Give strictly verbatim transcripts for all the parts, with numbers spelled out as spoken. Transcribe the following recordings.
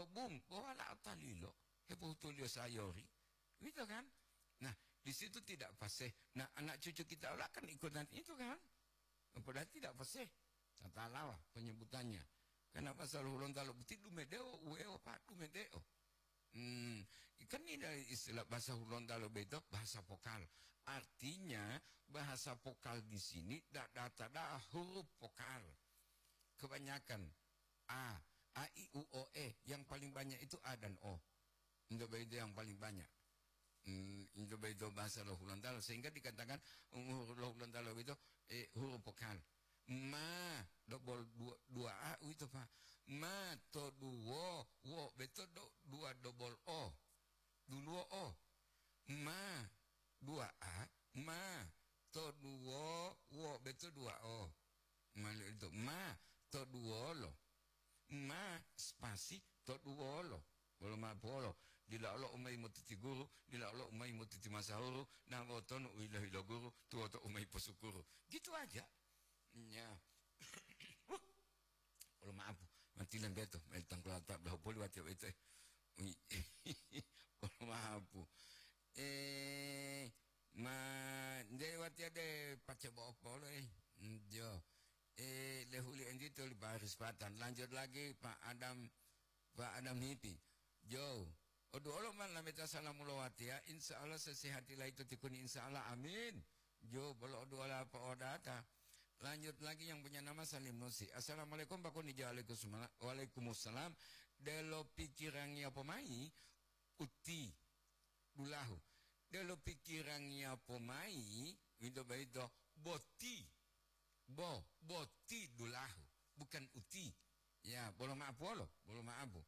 Bung, bo walao talilo, hepohutuliyo sayori. Gitu kan? Nah, di situ tidak fasih. Nah, anak cucu kita ola kan ikutan itu kan? Padahal tidak fasih. Tata lawa penyebutannya. Karena bahasa Hulontalo boti dumedeo, uweo, Pak, dumedeo. Hmm, kan ini dari istilah bahasa Hulontalo beto bahasa vokal. Artinya, bahasa vokal di sini tidak data dah huruf vokal. Kebanyakan A, A, I, U, O, E. Yang paling banyak itu A dan O. Itu begitu yang paling banyak. Hmm, itu begitu bahasa lo Hulontalo. Sehingga dikatakan, um, lo Hulontalo itu, eh, huruf vokal. Ma, dobol dua, dua A itu, Pak. Ma, to duwo, wo, beto do, dua dobol O. Duluwo O. Ma, dua A, ma, to duwo, wo, beto dua O. Mali itu, ma, to duwolo. Ma, spasi, to duwolo. Bolo ma'apuwolo. Dila olo umayi motiti guru, dila olo umayi motiti masahuru, na wotonu u hilo-hilo guru, tuwoto umayi posukuru. Gitu aja. Ya. Bolo ma'apu, matilan beto, mail tangkulo ta dahupoli watiya boyito, eh. Ui. Bolo ma'apu. Eh, ma, nde watiya de pace bo'o polo, eh. Mm, jo. Eh, lehuli entito li Paris Patan. Lanjut lagi, Pak Adam, Pak Adam Hipi. Jo. Oduolo ma lameta salamu lo watiya, insya Allah sesehati laito tikuni, insya Allah, amin. Jo, bolo oduola po'odata. Lanjut lagi yang punya nama Salim Nusi. Assalamualaikum, Pak Kuni. Jo, waalaikumsalam. Waalaikumsalam. Delo pikirangiya pomayi, uti, dulahu. Delo pikirangiya pomayi, wito boyito, boti. Bo, boti dulahu, bukan uti. Ya, bolo ma'apuwolo, bolo ma'apu.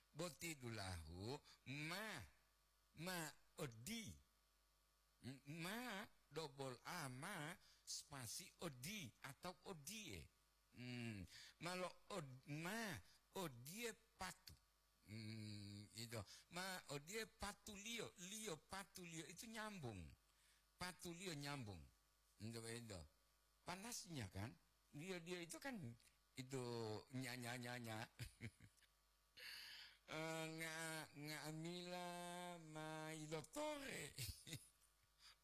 Boti dulahu, ma, ma odi. M-, ma, dobol A, ma, spasi odi atau odie. Hmm, malo od-, ma, odie patu. Hmm, itu. Ma, odie patuliyo, liyo patuliyo itu nyambung. Patuliyo nyambung. Itu, itu. Panasnya kan? Dia, dia itu kan itu nya, nya, nya, nya. Eh, nga-, nga'amila ma ilotore.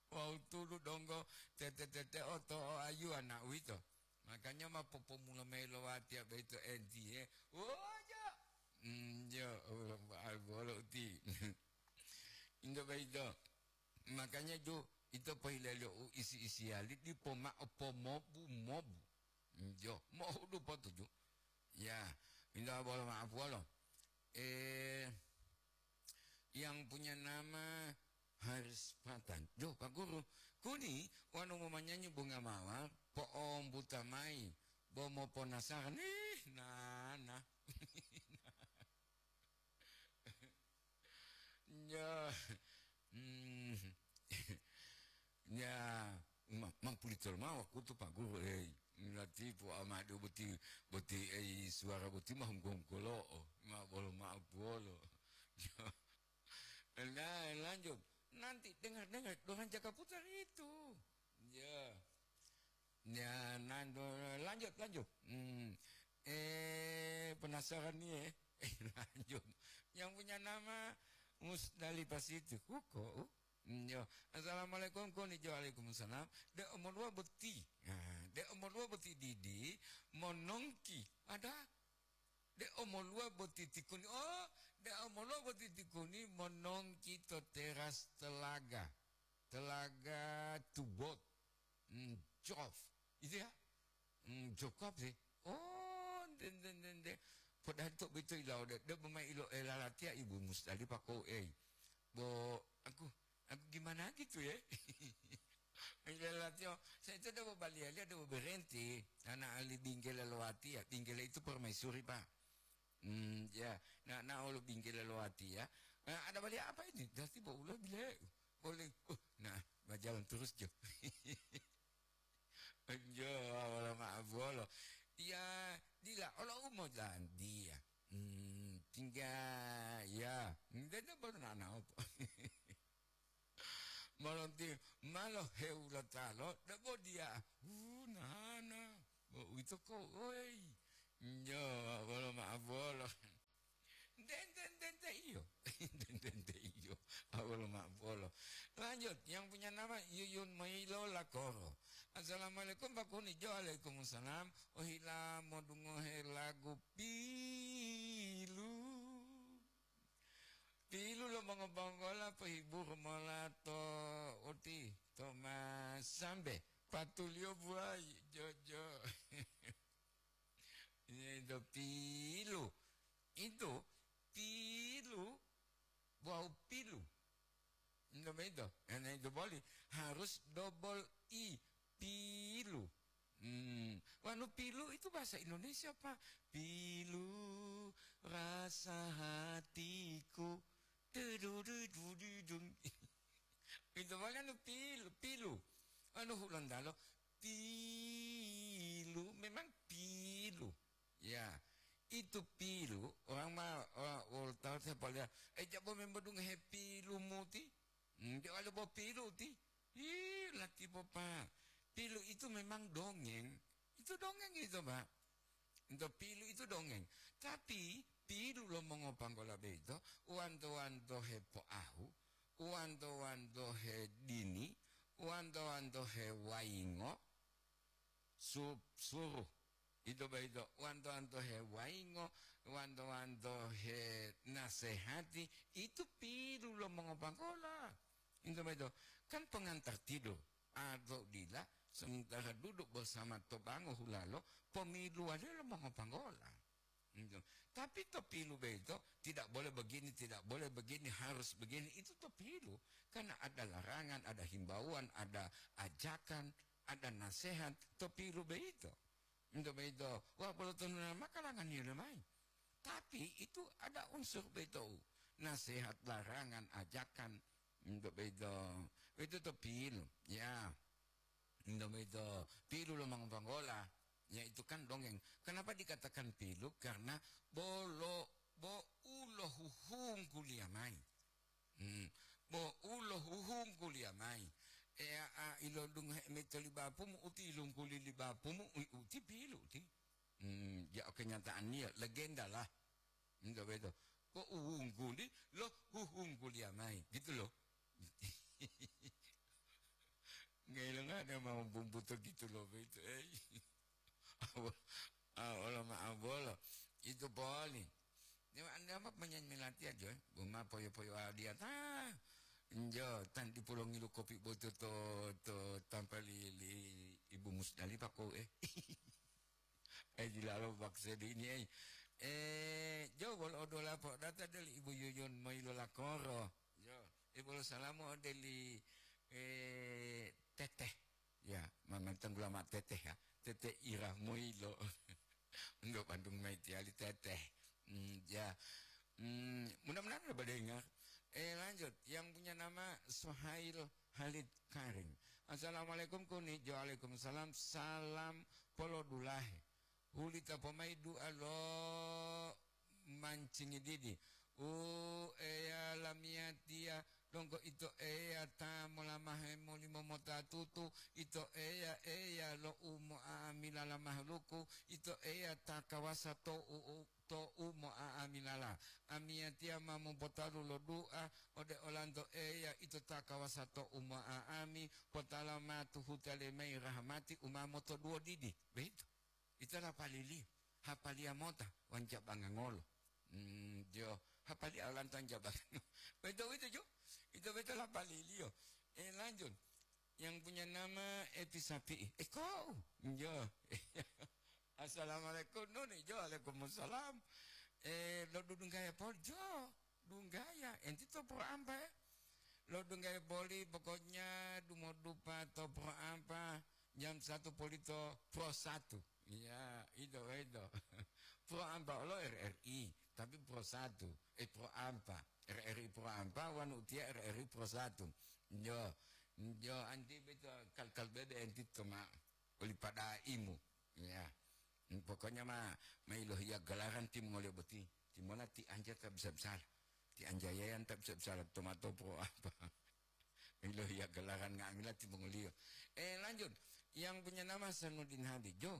Wawu tulu donggo tete-tete oto o ayu anak uwito. Makanya ma popomula mayi lo watiya boyito entiye. Wojo. Hmm, jo, bolo uti. Into boyito. Makanya ju, ito pohilaliyo u isi-isiyali dipo ma'o pomobu-mobu. Jo, mohudu potuju. Ya, minta bolo maaf wolo. Eh, yang punya nama Haris Patan. Jo, Pak Guru, kuni wanu memanyanyi bunga mawar, po'ombuta mayi, bo moponasaran. Ih, nana. Ya, hmm, ya, ma-, mampulitolo mao wakutu, Pak Guru, ei. Latipu amade boti, boti, ei, suwara boti ma hungko-hungkolo'o, ma bolo ma'o puwolo. Ya. Nah, lanjut. Nanti dengar-dengar orang Jakarta Putar itu. Ya. Ya, nando-, lanjut, lanjut. Hmm. Eh, penasaran nih, eh. Eh, lanjut. Yang punya nama Musdalifah Siti. Huko, uh. Hmm, yo. Assalamualaikum, konichiwa, waalaikumsalam. De omoluwa boti. Nah, de omoluwa boti didi, monongki. Ada. De omoluwa boti tikuni. Oh, de omoluwa boti tikuni, monongki to teras telaga. Telaga Tubot. Hmm, Jof. Itu ya? Hmm, Jokop sih. Oh, den, den, den, den. Padahal to beto ilawo de, de bemai ilo elalatiya Ibu Musdalifah ko, eh. Bo, aku, aku gimana gitu ya? Elalatiya, saya itu de bobaliya-liya, de boberenti. Anak ahli binggela lo watiya, binggela itu permaisuri, Pak. Hmm, ya, na, na olo binggela lo watiya. Nah, ada baliya apa ini? Dati bo ulo bile. Boleh. Uh, nah, berjalan terus jo. Jo, wala ma'abolo. Ya, dila, olo umo dan dia. Hmm, tinggal, ya. Dede baru nana apa? Malonti, malo hewula talo, debo dia. Uh, nana. Bo uito ko, oi. Jo, wala ma'abolo. Dede Lo ma'o bolo. Lanjut, yang punya nama Yuyun Mailo Lakoro. "Assalamualaikum, Pak Kuni." Jo, waalaikumsalam. Ohila modungohe lagu pilu. Pilu lo mongobonggola pohiburu mola to uti, to masambe. Patulio buai, jojo. Itu pilu. Itu pilu. Wau pilu. Enggak begitu. Karena itu boleh. Harus double I. Pilu. Hmm. Wanu pilu itu bahasa Indonesia, Pak. Pilu rasa hatiku. Dudu, dudu, dudung. Itu makanya pilu, pilu. Anu Hulontalo, pilu, memang pilu. Ya, itu pilu, orang ma-, orang, orang tahu saya paling, "Eh, jabo memang dong he pilu muti." Hmm, dia ada bawa pilu ti. Ih, lati bopa. Pilu itu memang dongeng. Itu dongeng itu, Pak. Ento pilu itu dongeng. Tapi pilu lo mongopanggola beito, wanto-wanto he poahu, wanto-wanto he dini, wanto-wanto he waingo, su-, suruh. Ito boyito, wanto-wanto he waingo, wanto-wanto he nasehati, itu pilu lo mongopanggola. Ito boyito, kan pengantar tidur atau dila, sementara duduk bersama tobango hulalo, pomiluwaliyo lo mongopanggola. Ito. Tapi to pilu boyito, tidak boleh begini, tidak boleh begini, harus begini, itu to pilu. Karena ada larangan, ada himbauan, ada ajakan, ada nasihat, to pilu boyito. Ito boyito, wah, bolo tonuna makalangan yele mai. Tapi itu ada unsur boyito, nasihat, larangan, ajakan, ito boyito, itu to pilu, ya. Ito boyito, pilu lo mongopanggola, ya, itu kan dongeng. Kenapa dikatakan pilu? Karena bolo, bo ulo huhungkuliya mai. Hmm. Bo ulo huhungkuliya mai. Eya a ilodungohe mito li bapumu, uti ilungkuli li bapumu, u-, uti pilu ti. Hmm, ya, kenyataannya legenda lah. Enggak begitu. Kok uwungkuli, lo huhungkuliya mai, gitu loh. Ngelonga ada mau bumbuto gitu loh, begitu, eh. Awo-, ah, ola ma'o bolo. Itu poli. Dewa anda apa penyanyi melatihan, jo? Buma poyo-poyo adiata. Njo, tanti pulongi lu kopi boto to, to tampa li, li Ibu Musdalifah ko, eh. Eh, dilalo bakse dini, eh. Eh, jo, bolo odola po data deli Ibu Yuyun Mailo Lakoro. Jo, eh, bolo salamu odeli, eh, Teteh. Ya, mama tanggula ma Teteh ya. Teteh Ira Moilo. Untuk Bandung mai tiali Teteh. Hmm, ya. Hmm, mudah-mudahan ada dengar. Eh, lanjut. Yang punya nama Suhail Halid Karing. "Assalamualaikum, Kuni." Jo, waalaikumsalam. Salam polodulahe. Hulita pomai du'a lo mancingi didi. U Eya lamiyatiya, donggo Ito Eya ta molamahe molimo mota tutu, Ito Eya, Eya lo u mo'a'amila la mahaluku, Ito Eya ta kawasa to u, u, to u mo'a'amilala. Amiyatiya ma mopotalu lo du'a ode olanto Eya, Ito ta kawasa to u mo'a'ami, potala ma tuhuta lemai rahamati u ma motoduwo didi. Begitu. Ito lapaliliyo, hapaliya mota, wanja bangangolo. Hmm, jo, hapaliya olanto wanja bangangolo. Beto, beto, jo. Ito beto lapaliliyo. Eh, lanjut. Yang punya nama Epi Sapi'i. Eh, kau? Jo. Assalamualaikum, Nuni. Jo, waalaikumsalam. Eh, lo dudunggaya poli? Jo. Dunggaya, enti to Pro Ampa, eh? Lo dunggaya boli, pokoknya dumodupa to Pro Ampa jam satu polito Pro satu. Iya, itu, itu. Pro Ampa lo R R I, tapi Pro satu. Eh, Pro Ampa. R R I Pro Ampa, wanu utia R R I Pro satu. Yo, yo, anti beto kal-kal bebe enti to ma. Oli pada imu. Ya. Hmm, pokoknya ma, ma ilohiya galaran timongoliyo boti. Timona ti anja ta bisa-bisala. Ti anja yayan ta bisa-bisala tomato po apa. Ilohiya galaran nga'amila timongoliyo. Eh, lanjut. Yang punya nama Sanudin Hadi. Jo.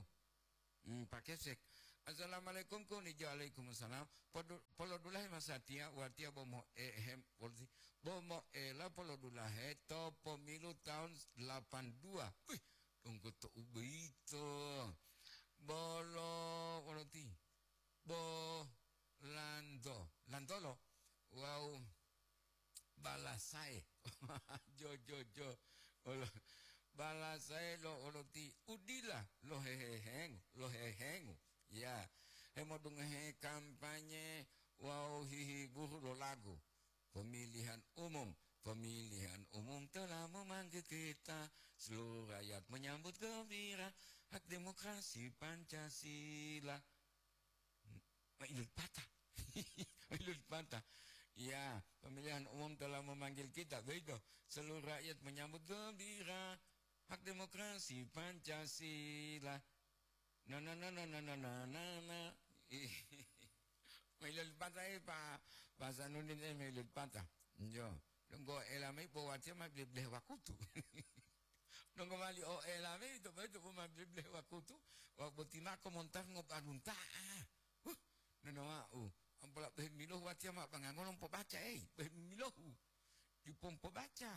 Hmm, Pak Kesek. Assalamualaikum, kuni. Waalaikumsalam. Podu-, polodulahe masatiya, watiya bo mo'ehem, polisi, bo mo'ela polodulahe to pomilu tahun delapan dua. Wih, donggo to ubeito. Bolo, wolo ti. Bo lanto, lantolo. Wow. Balasae. Jo, jo, jo. Olo-, balasae lo oloti udila lo hehehengu, lo hehengu. Ya, hemodungohe kampanye wawu hihiburu lo lagu. Pemilihan umum, pemilihan umum telah memanggil kita, seluruh rakyat menyambut gembira, hak demokrasi Pancasila. Mailul patah. Mailul patah. Ya, pemilihan umum telah memanggil kita, begitu. Seluruh rakyat menyambut gembira. Hak demokrasi Pancasila. Na, na, na, na, na, na, na, na, na. Mailul patah, eh, Pak, Pak Sanudin, eh, mailul patah. Yo, donggo ela mai po watiya ma bele-belehe wakutu. Donggo mali o ela mayi to boyito bo ma bele-belehe wakutu, wa boti mako montar ngobalunta'a. Huh, nonowa'u, ampola bohe milohu watiya ma bangangolo pobaca, ei, bohe milohu. Dipo pobaca.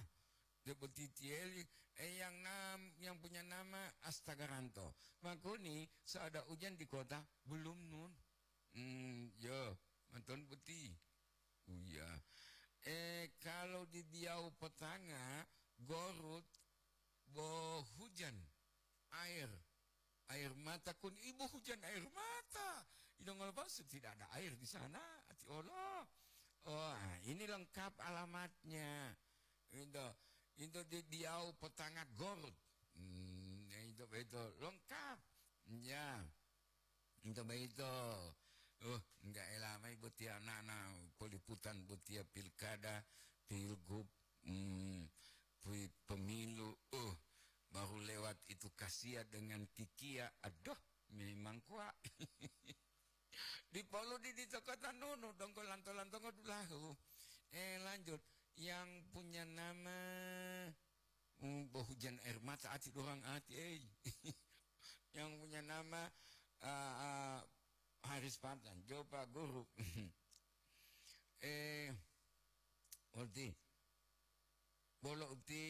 De boti tiyeli, eh, yang nam-, yang punya nama Astagaranto. Makuni, saada ujan di kota, belum nun. Hmm, yo, manton boti. Uya. Eh, kalau di Biau Petanga, Gorut, bo hujan, air, air mata kun ibu hujan air mata. Idongolo palsu tidak ada air di sana, ati olo. Oh, ah, ini lengkap alamatnya. Itu, itu di Biau Petanga Gorut. Hmm, itu, itu lengkap. Ya. Ito boyito, uh, enggak ela mayi botiya nana poliputan botiya pilkada, pilgub, hmm, pi-, pemilu, uh, baru lewat itu kasiya dengan kikiya, aduh, memang kuat. Dipolu di, di toko tanunu, donggo lanto-lantongo dulahu. Eh, lanjut. Yang punya nama Hmm, bo hujan air mata ati dorang ati, ei. Yang punya nama, ah, ah, Haris Patan, jo Pak Guru. Eh, uti. Bolo uti,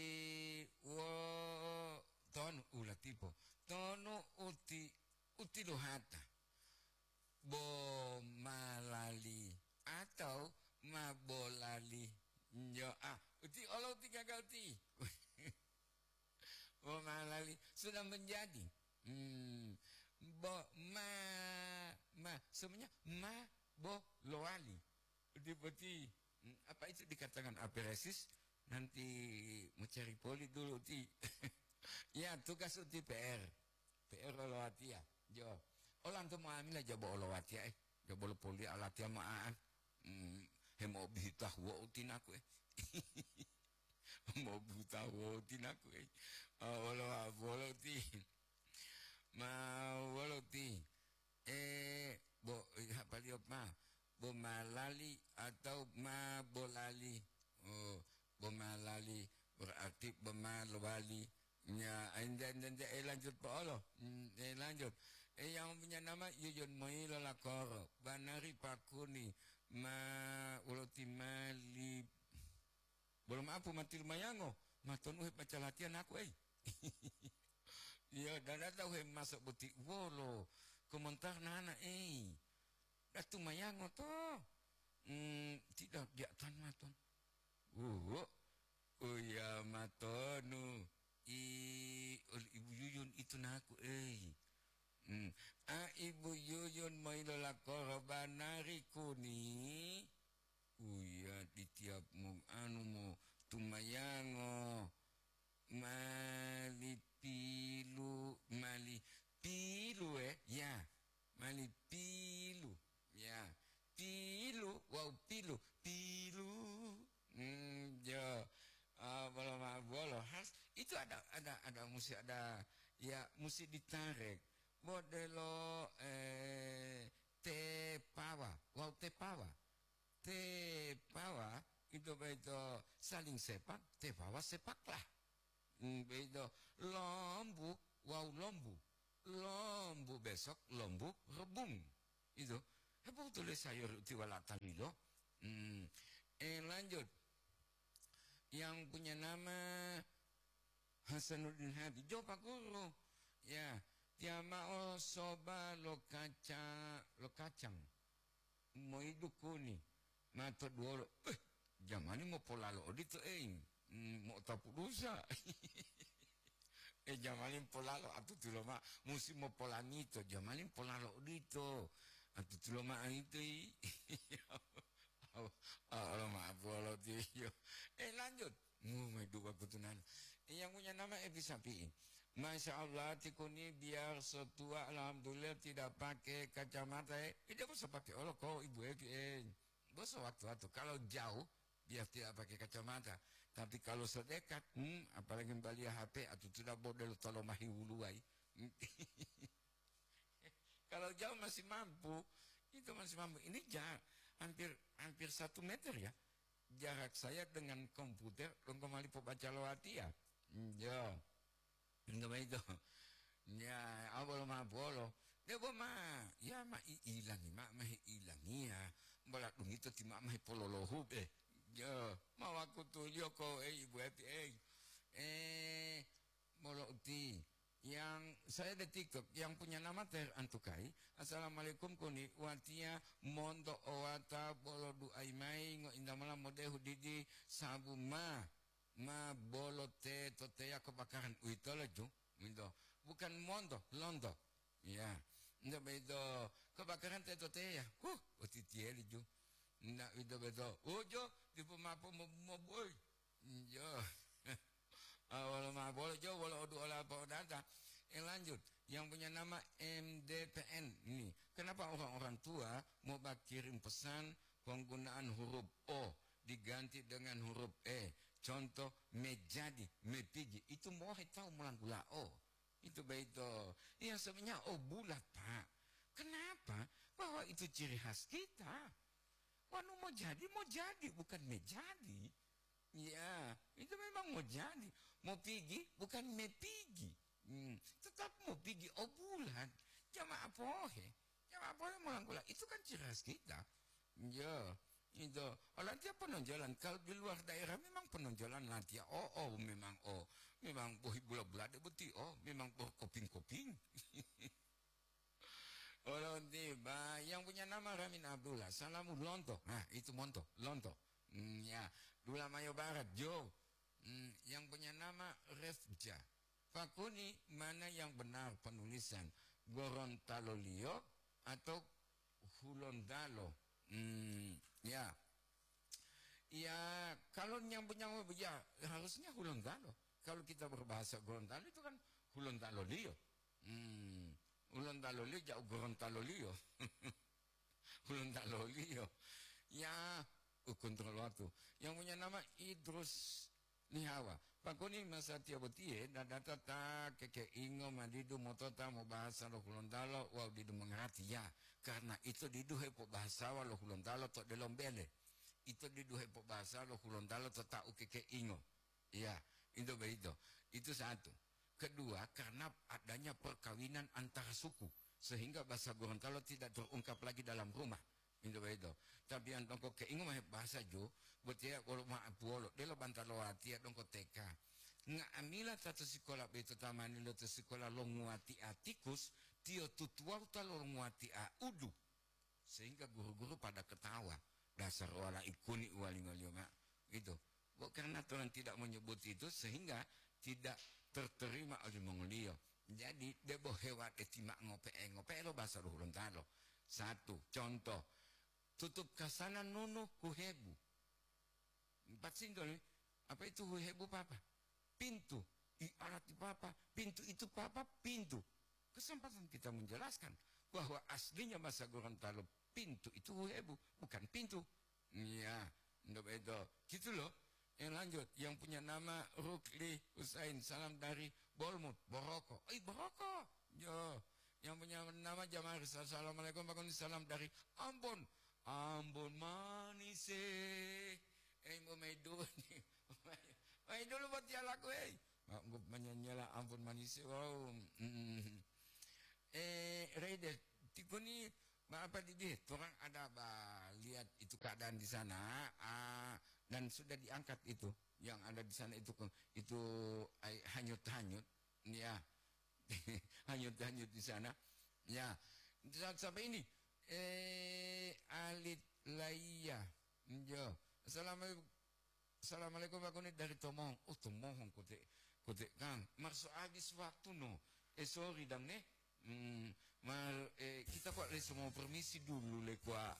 wo, tonu, ula tipo. Tonu uti, uti lohata. Bo ma lali atau ma bolali? Nyo, ah, uti olo uti gaga uti. Bo ma lali sudah menjadi. Hmm, bo ma, ma, semuanya ma bo lowali. Uti boti. Hmm, apa itu dikatakan aperesis? Nanti mencari poli dulu uti. Ya, tugas uti P R. P R olowatiya, jo. Olanto mo'amila jabo olowatiya, eh. Jabo lo polia olatiya mo'a'an. Hmm, hemo'obihita huwo utinaku, eh. Mo'obihita huwo utinaku, eh. Ah, wolo, wolo ti. Ma wolo ti. Eh, bo, hapaliyo ma. Bo ma lali atau ma bolali. Oh, bo ma lali berarti bo ma lowali. Nya, ente, ente, ente, eh, lanjut po olo. Hmm, eh, lanjut. Eh, yang punya nama Yuyun Moilo Lakoro, banari pakuni, ma, ulo timali. Bolo maapu mati lumayango, maton uhe baca latihan aku, ei. Iya, dada tahu he masuk boti wolo, komentar nana, ei. Datu mayango to. Hmm, tidak, dia tan maton. Wuwo. Uya matonu. I, ol Ibu Yuyun itu naku, ei. Hmm. A Ibu Yuyun mailo lakoro banari kuni. Uya di tiap mu, anu mu tumayango. Mali pilu, mali pilu, eh. Ya. Mali pilu, ya. Pilu, wawu pilu, pilu. Hmm, jo. Ah, bolo ma-, bolo has. Itu ada, ada, ada musti ada, ya, musti ditarik. Modelo, eh, tepawa, wawu tepawa. Tepawa, itu begitu saling sepak, tepawa sepaklah. Hmm, begitu. Lombu, wawu lombu. lombu besok, lombu rebung. Itu. Hebotu le sayur uti wala talilo. Hmm. Eh, lanjut. Yang punya nama Hasanuddin Habib. Jo, Pak Guru. Ya, tiama'o soba lo kaca-, lo kacang. Moidu kuni. Mato duwolo. Eh, jamani mopolalo odito, eh. Hmm, mo'otapu dusa. Eh, jamani polalo atutulo ma-, musim mopolamito, jamani polalo odito. Atutulo ma'o ito, i. Allah maaf, Allah tiyo. Eh, lanjut. Mu, mai dua kutunan. Eh, yang punya nama Epi Sapi'i. Masya Allah, tikuni biar setua, alhamdulillah tidak pakai kacamata, eh. Eh, dia bisa pakai olok, kok, Ibu Epi, eh. Bos waktu-waktu. Kalau jauh, biar tidak pakai kacamata. Tapi kalau sedekat, hmm, apalagi mbaliya H P, atutuda bodelo tolomahi wuluwai. Kalau jauh masih mampu, itu masih mampu. Ini ja-, hampir, hampir satu meter ya. Jarak saya dengan komputer, donggo mali pobaca lo watiya. Hmm, yo. Nto boyito. Ya, awolo ma bolo. Debo ma, ya ma i'ilangi ma, ma he'ilangiya. Bola dungito ti ma, ma hepololohu be. Ya, ma wakutuliyo ko, eh, Ibu Epi, eh. Eh, bolo uti. Yang saya ada TikTok, yang punya nama Ter Antukai. Assalamualaikum kuni, watiya monto owata bolo du'ai mai ngointa mola modehu didi sabu ma. Ma bolo teto teya kebakaran. Uwitolo ju, minto. Bukan monto, lonto. Ya. Nto boyito kebakaran teto teya. Huh, otitiyeli ju. Nda uwito boyito. Oh, jo, dipo mapo mo-, mobuoi. Jo. Ah, wolo ma bolo jo, wolo odu ola apa odata. Eh, lanjut. Yang punya nama M D P N ini. Kenapa orang-orang tua mau kirim pesan penggunaan huruf O diganti dengan huruf E? Contoh, mejadi, mepigi. Itu mohe tahu melanggula O. Itu boyito. Iya, sebenarnya O bulat, Pak. Kenapa? Bahwa itu ciri khas kita. Wanu mau jadi, mau jadi, bukan mejadi. Ya, itu memang mau jadi. Mau pigi, bukan mepigi. Hmm, tetap mau pigi O bulat. Jamaah pohe. Jamaah pohe melanggula. Itu kan ciri khas kita. Ya, itu. Olantiya penonjolan. Kalau di luar daerah memang penonjolan lantiya. Oh, oh, memang, oh. Memang bohi bula-bula de boti. Oh, memang boh koping-koping. Olonti, ba, yang punya nama Ramin Abdullah. Salamu lonto. Nah, itu monto, lonto. Hmm, ya. Dula Mayo Barat, Jo. Hmm, yang punya nama Refja. Fakuni, mana yang benar penulisan? Gorontalo Liyo atau Hulontalo? Hmm, ya. Ya, kalau nyambu-nyambu, ya, harusnya Hulontalo. Kalau kita berbahasa Gorontalo itu kan Hulontalo Liyo. Hmm, Hulontalo Liyo, jauh Gorontalo Liyo. Hulontalo Liyo. Ya, u kontrol waktu. Yang punya nama Idrus Lihawa. Pakoni masatiya botiye, dadata ta kekeingo madidu motota mobahasa lo Hulontalo wawu didu mongarati. Ya, karena ito didu hepobahasawa lo Hulontalo to delombele. Ito didu hepobahasa lo Hulontalo to tau kekeingo. Iya, itu begitu. Itu satu. Kedua, karena adanya perkawinan antara suku, sehingga bahasa Gorontalo tidak terungkap lagi dalam rumah. Itu begitu. Tapi yang dongko keingo mahe bahasa jo, botiya wolo ma'apuwolo, delo bantalo watiya dongko T K. Nga'amila ta to sikola boyito tamani lo to sikola lo nguwati'a tikus, tiyo tutuwawu ta lo nguwati'a udu. Sehingga guru-guru pada ketawa. Dasar wala'i kuni uwalingoliyo ma'o. Gitu. Bo karena Tuhan tidak menyebut itu, sehingga tidak terterima oleh mongoliyo. Jadi, debo hewa deti ma ngope'e-ngope'e lo bahasa lo Hulontalo. Satu, contoh, tutup kasana nunu huhebu. Empat sintol, apa itu huhebu, Papa? Pintu. I arati Papa, pintu itu, Papa, pintu. Kesempatan kita menjelaskan bahwa aslinya bahasa Gorontalo pintu itu huhebu, bukan pintu. Iya, ndak begitu. Gitu loh. Yang lanjut, yang punya nama Rukli Husain, salam dari Bolmut, Boroko. Oi, Boroko. Yo, yang punya nama Jamar, assalamualaikum, Pak Koni, salam dari Ambon. Ambon manis, eh. Eh, mau main dulu nih. Main dulu buat dia lagu, eh. Mak, mak, menyanyala Ambon manis, eh. Wow. Mm. Eh, Raides, tikuni apa didi? Torang ada ba lihat itu keadaan di sana, ah, dan sudah diangkat itu. Yang ada di sana itu ke-, itu ai-, hanyut-hanyut, ya. Hanyut-hanyut di sana. Ya. Saat sampai ini, eh, Alit Laiya. Yo. Assalamualaikum. Assalamualaikum, aku ni dari Tomohon. Oh, Tomohon kote, kote kan. Marso habis waktu no. Eh, sorry dang ne. Hmm, mar, eh, kita kok le semua permisi dulu le kwa.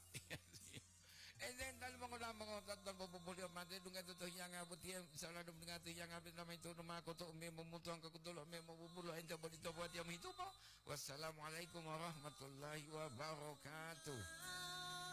Eh, dan tali mongoda mongota tanpa popoli mate dunga to hiyanga botiya, salah dum dunga to hiyanga be nama itu nama ko to me momutuang ke kutulo me mobubulo ente bodi to buat yang itu po. Wassalamualaikum warahmatullahi wabarakatuh.